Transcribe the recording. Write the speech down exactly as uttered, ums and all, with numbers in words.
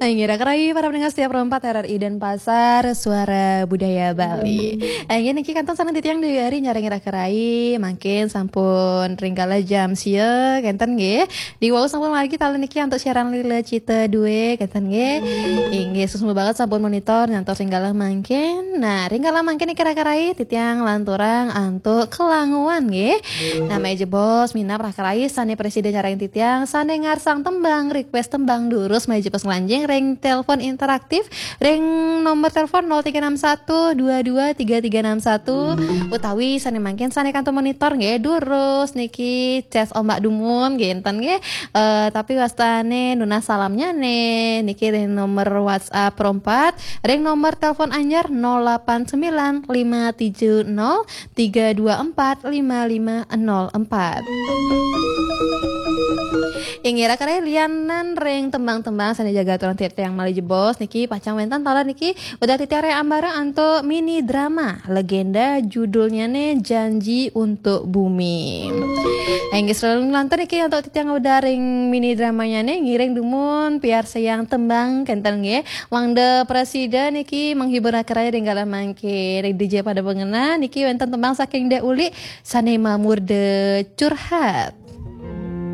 Inggih raka rai para pendengar setia Pro empat R R I Denpasar, Suara Budaya Bali. Inggih niki kantun saking titiang Dewi Ari nyarengin raka rai, mangkin sampun ring kala jam sia kenten nggih. Di wau sampun margi taler niki antuk siaran Lila Cita dua kenten nggih. Inggih suksma banget sampun monitor nyantos ring kala mangkin. Nah, ring kala mangkin niki raka rai titiang lanturang antuk kelanguan nggih. Nah, malih jebos minab raka rai sane prasida nyarengin titiang sane ngarsang tembang, request tembang durus malih jebos nglanjing ring telepon interaktif ring nomor telepon nol tiga enam satu dua dua tiga tiga enam satu utawi sane mangkin sane kantun monitor nggih durus niki ces ombak dumun nggih enten nggih. Eh, tapi wastane nunas salamnyane niki ring nomor WhatsApp Pro empat ring nomor telepon anyar nol delapan sembilan lima tujuh nol tiga dua empat lima lima nol empat. Inggih raka rai lianan ring tembang-tembang sane jaga aturan titiang malih jebos niki pacang wenten taler niki udah titiang ring ambara antuk mini drama legenda judulnyane Janji untuk Bumi. Inggih selalu lantur niki antuk titiang udah ring mini dramanyane ngiring dumun piarsayang tembang kenten nggih. Mangda prasida niki menghibur raka rai ring kala mangkin. Ring dija pada pangena niki wenten tembang saking Dek Uli sane mamurda Curhat.